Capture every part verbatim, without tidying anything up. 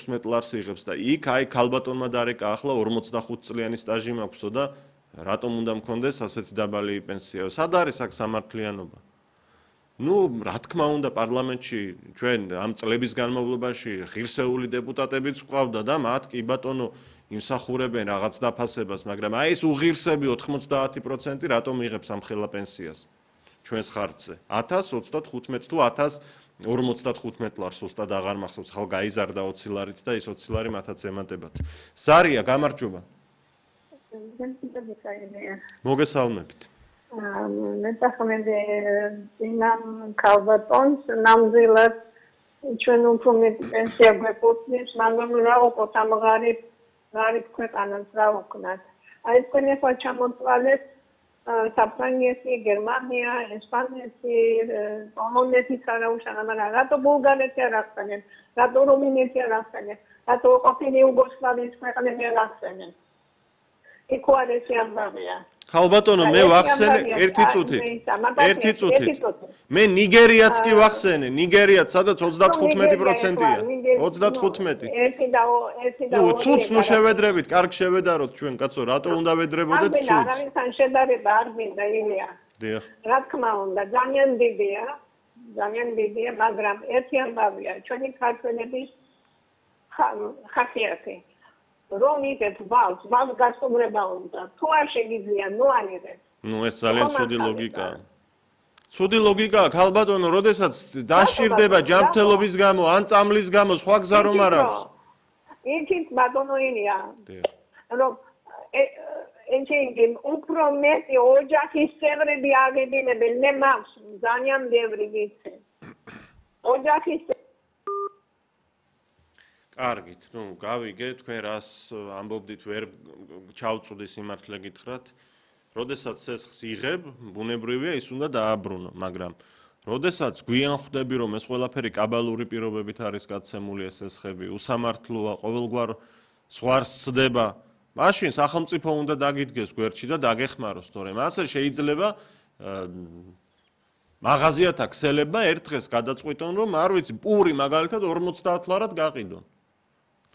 თხუთმეტ ლარს იღებს და იქ აი ქალბატონმა დარეკა ახლა ორმოცდახუთ წლიანი სტაჟი მაქვსო და რატომ უნდა მქონდეს ასეთი დაბალი პენსია? სად არის აქ სამართლიანობა? ნუ რა თქმა უნდა პარლამენტში ჩვენ ამ წლების განმავლობაში ღირსეული დეპუტატებიც ვყავდა და მათ კი ბატონო იმსახურებენ რაღაც დაფასებას, მაგრამ აი ეს უღირსები ოთხმოცდაათი პროცენტი რატომ იღებს ამ ხელა პენსიას ჩვენს ხარჯზე? ათას ოცდათხუთმეტ თუ ათას ორმოცდათხუთმეტ ლარს უსტად აღარ მახსოვს, ხალ გაიზარდა ოცი ლარით და ის ოცი ლარი მათაც ემატებათ. ზარია, გამარჯობა. მოგესალმებით. მე წახმენდი ინამ ქალბატონს ნამდვილად ჩვენ უფრო მეტი პენსია გვექოთნის, მაგრამ რა ვუყოთ ამ ღარიბ ღარიბ ქვეყანას რა ვქნათ. აი თქვენ ახლა ჩამოწვალეთ საფრანგეთი, გერმანია, ესპანეთი, პოლონეთი სარაუშანა, მაგრამ რატო ბულგარეთი არ ახსენეთ? რატო რუმინეთი არ ახსენეთ? რატო ყოფილი იუგოსლავიის ქვეყნები არ ახსენეთ? იქ უარესი ამბავია. ხალბატონო, მე ვახსენე ერთი წუთით. ერთი წუთით. მე ნიგერიაც კი ვახსენე, ნიგერიაც სადაც ოცდათხუთმეტი პროცენტია. ოცდათხუთმეტი. ერთი და ერთი და ნუ ცუც ნუ შევედრებით, კარგ შევედაროთ ჩვენ კაცო, რატო უნდა ვედრებოდეთ ცუც? არავისთან შედარება არ მინდა ილია. დიახ. რა თქმა უნდა, ძალიან დიდია, ძალიან დიდია, მაგრამ ერთი ამბავია, ჩვენი ქართველების ხასიათი. რომ იგეთ ვალს, ვალს გასწორება უნდა. თუ არ შეგიძლია, ნუ ანიღეთ. ნუ ეს ძალიან ცუდი ლოგიკაა. ცუდი ლოგიკაა, ხალბატონო, როდესაც დაშირდება ჯანმრთელობის გამო, ან წამლის გამო, სხვა გზა რომ არ აქვს. იქით ბატონო ილია. რომ ენჩინგი უფრო მეტი ოჯახის წევრები აღედინებენ, მე მაქვს ძალიან ბევრი ვიცი. ოჯახის კარგით, ნუ გავიგე, თქვენ რას ამბობდით, ვერ ჩავწვდი სიმართლე გითხრათ. როდესაც სესხს იღებ, ბუნებრივია ის უნდა დააბრუნო, მაგრამ როდესაც გვიან ხვდები, რომ ეს ყველაფერი კაბალური პირობებით არის გაცემული ეს სესხები, უსამართლოა, ყოველგვარ ზღვარს ცდება, მაშინ სახელმწიფო უნდა დაგიდგეს გვერდში და დაგეხმაროს, თორემ ასე შეიძლება მაღაზიათა ქსელებმა ერთ დღეს გადაწყვიტონ, რომ არ ვიცი, პური მაგალითად ორმოცდაათ ლარად გაყიდონ.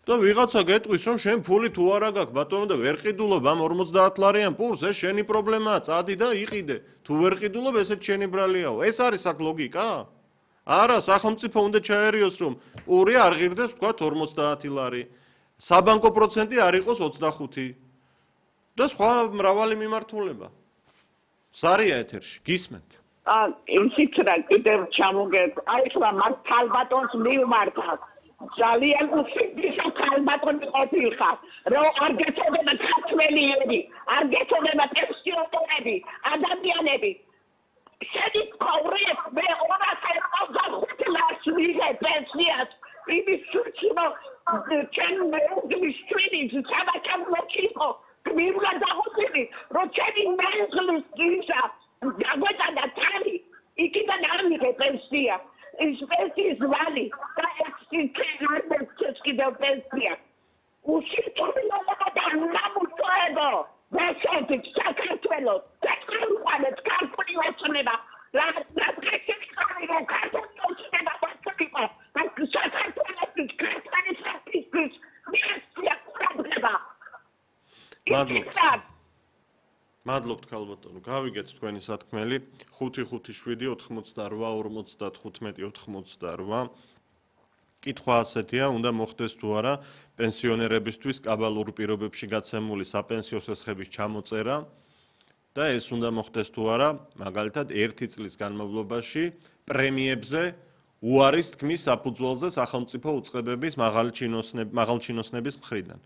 და ვიღაცა გეტყვის, რომ შენ ფული თუ არა გაქვს, ბატონო და ვერ ყიდულობ ამ ორმოცდაათ ლარიან პურს, ეს შენი პრობლემაა, წადი და იყიდე. თუ ვერ ყიდულობ, ესეც შენი ბრალიაო. ეს არის აქ ლოგიკა? არა, სახელმწიფო უნდა ჩაერიოს, რომ პური არ ღირდეს, ვთქვათ, ორმოცდაათი ლარი. საბანკო პროცენტი არ იყოს ოცდახუთი. და სხვა მრავალი მიმართულება. ზარია ეთერში, გისმენთ. აა, ისიც რა კიდევ ჩამოგეთ. აი ხლა მას ქალბატონს მივმართავ. ძალიან უსიძისა ქალბატონი ყოფილხარ, რომ არ გეცოდება ქართველიები, არ გეცოდება პენსიონერები, ადამიანები. შენი ყურებ მე ორასი ოცდახუთი ლარს ვიღებ პენსიას, იმის სუჩინო ჩვენ მეუღლის შვილი სამაკამლოჩი იყო, გმირლა დაღუპული, რომ ჩემი მეუღლის გიზა დაგვეწადა თალი, იქიდან არ მიღე პენსია. ის პენსიის ვალი და ეს კიდევ პენსია. უშიშტობილობა და ნამუშევრება. ვასწავლეთ საქართველოს, საქართველოს ქართული ოცნება. რა რა ქართული რა ქართული ოცნება ვასწავლება. და საქართველოს ქართული საფისის მისია პრობლემა. მადლობთ. მადლობთ ქალბატონო, გავიგეთ თქვენი სათქმელი. ხუთი ხუთი შვიდი ოთხმოცდაორვა ორმოცდათხუთმეტი ოთხმოცდაორვა. კითხვა ასეთია, უნდა მოხდეს თუ არა პენსიონერებისთვის კაბალურ პირობებში გაცემული საპენსიო სესხების ჩამოწერა და ეს უნდა მოხდეს თუ არა, მაგალითად, ერთი წლის განმავლობაში პრემიებზე უარის თქმის საფუძველზე სახელმწიფო უწყებების მაღალჩინოსნების მხრიდან.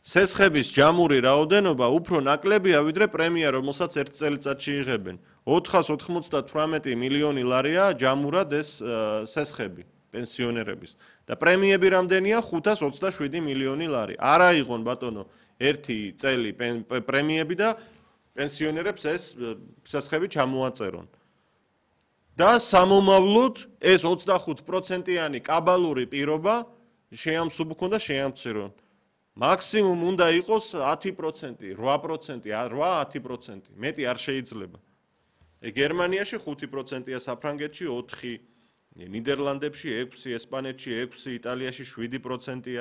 სესხების ჯამური რაოდენობა უფრო ნაკლებია ვიდრე პრემია, რომელსაც ერთ წელიწადში იღებენ. ოთხას ოთხმოცდათვრამეტი მილიონი ლარია ჯამურად ეს სესხები პენსიონერების და პრემიები რამდენია? ხუთას ოცდაშვიდი მილიონი ლარი. არ აიღონ ბატონო ერთი წელი პრემიები და პენსიონერებს ეს სესხები ჩამოაწერონ. და სამომავლოდ ეს ოცდახუთ პროცენტიანი კაბალური პირობა შეამსუბუქონ და შეამცირონ. მაქსიმუმ უნდა იყოს ათი პროცენტი, რვა პროცენტი, რვა ათი პროცენტი. მეტი არ შეიძლება. გერმანიაში ხუთი პროცენტია, საფრანგეთში ოთხი, ნიდერლანდებში ექვსი, ესპანეთში ექვსი, იტალიაში შვიდი პროცენტია.